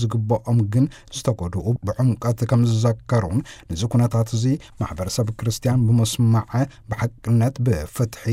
ዝግብኦም ግን ዝተጎድኡ ብዕምቀት ከም ዝዘከሩን፣ ነዚ ኩነታት እዚ ማሕበረሰብ ክርስትያን ብምስማዕ፣ ብሓቅነት፣ ብፍትሒ፣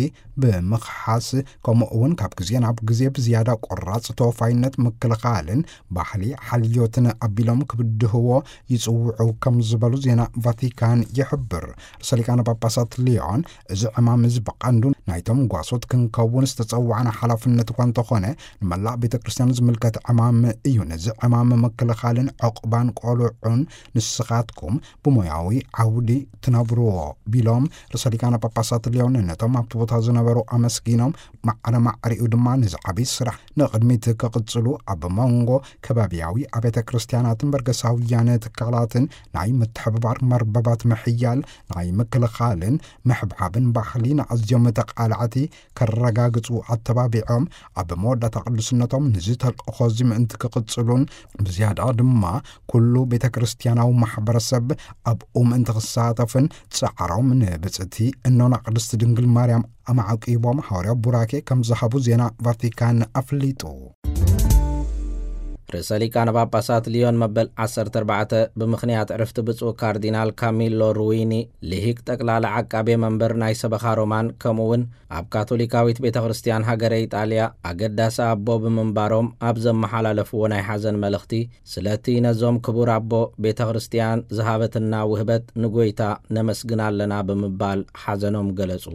ብምኽሓስ፣ ከምኡ እውን ካብ ግዜ ናብ ግዜ ብዝያዳ ቆራፅ ተወፋይነት ምክልኻልን ባህሊ ሓልዮትን ኣቢሎም ክብድህዎ ይፅውዑ ከም ዝበሉ ዜና ቫቲካን ይሕብር። ርእሰ ሊቃነ ጳጳሳት ሊዮን፣ እዚ ዕማም እዚ ብቐንዱ ናይቶም ጓሶት ክንከውን ዝተጸዋዕና ሓላፍነት እኳ እንተኾነ፣ ንመላእ ቤተ ክርስቲያን ዝምልከት ዕማም እዩ። ነዚ ዕማም ምክልኻልን ዕቑባን ቆልዑን ንስኻትኩም ብሞያዊ ዓውዲ ትነብርዎ ቢሎም፣ ርእሰ ሊቃነ ጳጳሳት ሊዮን ነቶም ኣብቲ ቦታ ዝነበሩ ኣመስጊኖም፣ ማዕረ ማዕሪኡ ድማ ነዚ ዓብዪ ስራሕ ንቕድሚት ክቕጽሉ፣ ኣብ መንጎ ከባቢያዊ ኣብያተ ክርስቲያናትን በርገሳውያን ትካላትን ናይ ምትሕብባር መርበባት ምሕያል፣ ናይ ምክልኻልን ምሕብሓብን ባህሊ ንኣዝዮም ተቓላዕቲ ከረጋግጹ ኣተባቢዖም፣ ኣብ መወዳእታ ቅዱስነቶም ነዚ ተልእኾ እዚ ምእንቲ ክቕጽሉን ብዝያዳ ድማ ኩሉ ቤተ ክርስቲያናዊ ማሕበረሰብ ኣብኡ ምእንቲ ክሳተፍን ጻዕሮም ንብጽእቲ እኖና ቅድስቲ ድንግል ማርያም ኣማዕቂቦም፣ ሓዋርያዊ ቡራኬ ከም ዝሃቡ ዜና ቫቲካን ኣፍሊጡ። ርእሰ ሊቃነ ጳጳሳት ሊዮን መበል ዓሰርተ ኣርባዕተ፣ ብምኽንያት ዕርፍቲ ብፁዕ ካርዲናል ካሚሎ ሩዊኒ፣ ልሂቅ ጠቅላላ ዓቃቤ መንበር ናይ ሰበኻ ሮማን፣ ከምኡ እውን ኣብ ካቶሊካዊት ቤተ ክርስቲያን ሃገረ ኢጣልያ ኣገዳሲ ኣቦ ብምንባሮም፣ ኣብ ዘመሓላለፍዎ ናይ ሓዘን መልእኽቲ፣ ስለቲ ነዞም ክቡር ኣቦ ቤተ ክርስቲያን ዝሃበትና ውህበት ንጎይታ ነመስግን ኣለና ብምባል ሓዘኖም ገለጹ።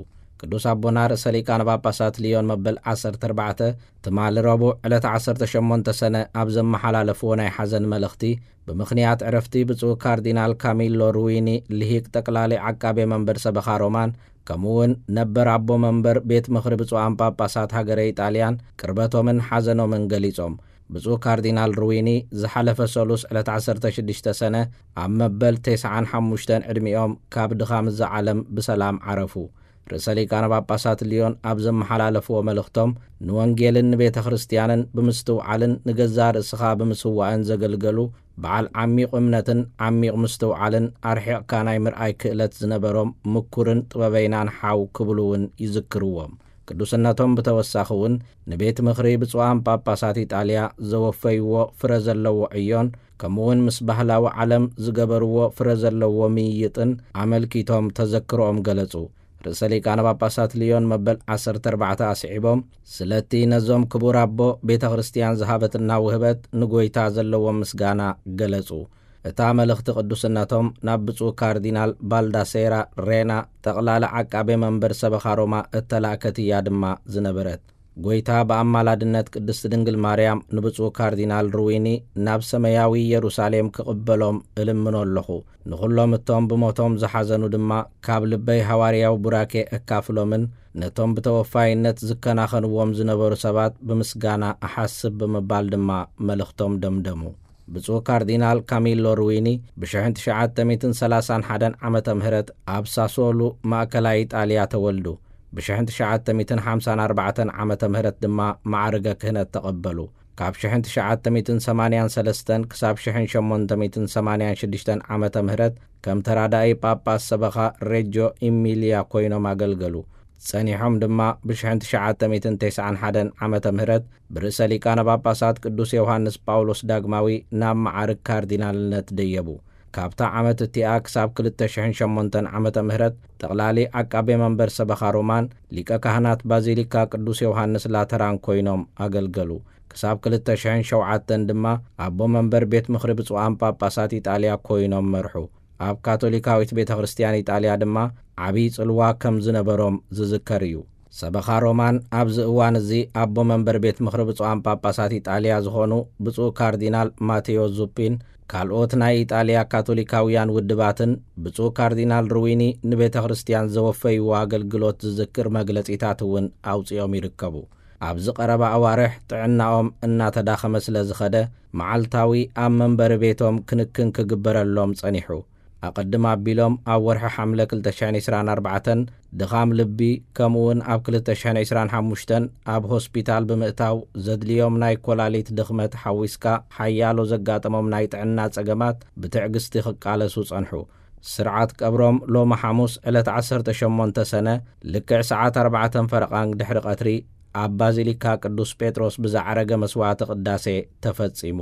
ቅዱስ ኣቦና ርእሰ ሊቃነ ጳጳሳት ሊዮን መበል ዓሰርተ ኣርባዕተ፣ ትማሊ ረቡዕ ዕለት ዓሰርተ ሸሞንተ ሰነ ኣብ ዘመሓላለፍዎ ናይ ሓዘን መልእኽቲ፣ ብምኽንያት ዕረፍቲ ብፁዕ ካርዲናል ካሚሎ ሩዊኒ፣ ልሂቅ ጠቅላሊ ዓቃቤ መንበር ሰበኻ ሮማን፣ ከምኡ እውን ነበር ኣቦ መንበር ቤት ምኽሪ ብፁዓን ጳጳሳት ሃገረ ኢጣልያን፣ ቅርበቶምን ሓዘኖምን ገሊጾም። ብፁዕ ካርዲናል ሩዊኒ ዝሓለፈ ሰሉስ ዕለት ዓሰርተ ሽዱሽተ ሰነ ኣብ መበል ተስዓን ሓሙሽተን ዕድሚኦም ካብ ድኻም እዛ ዓለም ብሰላም ዓረፉ። ርእሰ ሊቃነ ጳጳሳት ሊዮን ኣብ ዘመሓላለፍዎ መልእኽቶም፣ ንወንጌልን ንቤተ ክርስቲያንን ብምስትውዓልን ንገዛእ ርእስኻ ብምስዋእን ዘገልገሉ፣ በዓል ዓሚቕ እምነትን ዓሚቕ ምስትውዓልን ኣርሒቕካ ናይ ምርኣይ ክእለት ዝነበሮም ምኩርን ጥበበይናን ሓው ክብሉ እውን ይዝክርዎም። ቅዱስነቶም ብተወሳኺ እውን ንቤት ምኽሪ ብፁዓን ጳጳሳት ኢጣልያ ዘወፈይዎ ፍረ ዘለዎ ዕዮን፣ ከምኡ እውን ምስ ባህላዊ ዓለም ዝገበርዎ ፍረ ዘለዎ ምይይጥን ኣመልኪቶም ተዘክሮኦም ገለጹ። ርእሰ ሊቃነ ጳጳሳት ሊዮን መበል ዓሰርተ ኣርባዕተ ኣስዒቦም፣ ስለቲ ነዞም ክቡር ኣቦ ቤተ ክርስቲያን ዝሃበትና ውህበት ንጎይታ ዘለዎም ምስጋና ገለጹ። እታ መልእኽቲ ቅዱስነቶም ናብ ብፁዕ ካርዲናል ባልዳሴራ ሬና፣ ጠቕላሊ ዓቃቤ መንበር ሰበኻ ሮማ እተላእከት እያ ድማ ዝነበረት። ጎይታ ብኣማላድነት ቅድስቲ ድንግል ማርያም ንብፁዕ ካርዲናል ሩዊኒ ናብ ሰማያዊ ኢየሩሳሌም ክቕበሎም እልምኖ ኣለኹ። ንኹሎም እቶም ብሞቶም ዝሓዘኑ ድማ ካብ ልበይ ሃዋርያዊ ቡራኬ እካፍሎምን ነቶም ብተወፋይነት ዝከናኸንዎም ዝነበሩ ሰባት ብምስጋና እሓስብ ብምባል ድማ መልእኽቶም ደምደሙ። ብፁዕ ካርዲናል ካሚሎ ሩዊኒ ብሽሕን ትሽዓተ ሚእትን ሰላሳን ሓደን ዓመተ ምህረት ኣብ ሳሶሉ ማእከላይ ኢጣልያ ተወልዱ። ብሽሕን ትሽዓተ ሚእትን ሓምሳን ኣርባዕተን ዓመተ ምህረት ድማ ማዕርገ ክህነት ተቐበሉ። ካብ ሽሕን ትሽዓተ ሚእትን ሰማንያን ሰለስተን ክሳብ ሽሕን ሸሞንተ ሚእትን ሰማንያን ሽዱሽተን ዓመተ ምህረት ከም ተራዳኢ ጳጳስ ሰበኻ ሬጆ ኢሚልያ ኮይኖም ኣገልገሉ። ጸኒሖም ድማ ብሽሕን ትሽዓተ ሚእትን ተስዓን ሓደን ዓመተ ምህረት ብርእሰ ሊቃነ ጳጳሳት ቅዱስ ዮሃንስ ጳውሎስ ዳግማዊ ናብ መዓርግ ካርዲናልነት ደየቡ። ካብታ ዓመት እቲኣ ክሳብ ክልተ ሽሕን ሸሞንተን ዓመተ ምህረት ጠቕላሊ ዓቃቤ መንበር ሰበኻ ሮማን ሊቀ ካህናት ባዚሊካ ቅዱስ ዮሃንስ ላተራን ኮይኖም ኣገልገሉ። ክሳብ ክልተ ሽሕን ሸውዓተን ድማ ኣቦ መንበር ቤት ምኽሪ ብፁዓን ጳጳሳት ኢጣልያ ኮይኖም መርሑ። ኣብ ካቶሊካዊት ቤተ ክርስቲያን ኢጣልያ ድማ ዓብዪ ጽልዋ ከም ዝነበሮም ዝዝከር እዩ። ሰበኻ ሮማን ኣብዚ እዋን እዚ ኣቦ መንበር ቤት ምኽሪ ብፁዓን ጳጳሳት ኢጣልያ ዝኾኑ ብፁዕ ካርዲናል ማቴዎ ዙፒን፣ ካልኦት ናይ ኢጣልያ ካቶሊካውያን ውድባትን ብፁዕ ካርዲናል ሩዊኒ ንቤተ ክርስቲያን ዘወፈይዎ ኣገልግሎት ዝዝክር መግለጺታት እውን ኣውጺኦም ይርከቡ። ኣብዚ ቀረባ ኣዋርሕ ጥዕናኦም እናተዳኸመ ስለ ዝኸደ፣ መዓልታዊ ኣብ መንበሪ ቤቶም ክንክን ክግበረሎም ጸኒሑ። ኣቐድም ኣቢሎም ኣብ ወርሒ ሓምለ ክልተ ሽሕን ዕስራን ኣርባዕተን ድኻም ልቢ፣ ከምኡውን ኣብ ክልተ ሽሕን ዕስራን ሓሙሽተን ኣብ ሆስፒታል ብምእታው ዘድልዮም ናይ ኮላሊት ድኽመት ሓዊስካ ሓያሎ ዘጋጠሞም ናይ ጥዕና ጸገማት ብትዕግስቲ ክቃለሱ ጸንሑ። ስርዓት ቀብሮም ሎሚ ሓሙስ ዕለት ዓሰርተ ሸሞንተ ሰነ ልክዕ ሰዓት ኣርባዕተን ፈረቓን ድሕሪ ቀትሪ ኣብ ባዚሊካ ቅዱስ ጴጥሮስ ብዝዓረገ መስዋዕቲ ቅዳሴ ተፈጺሙ።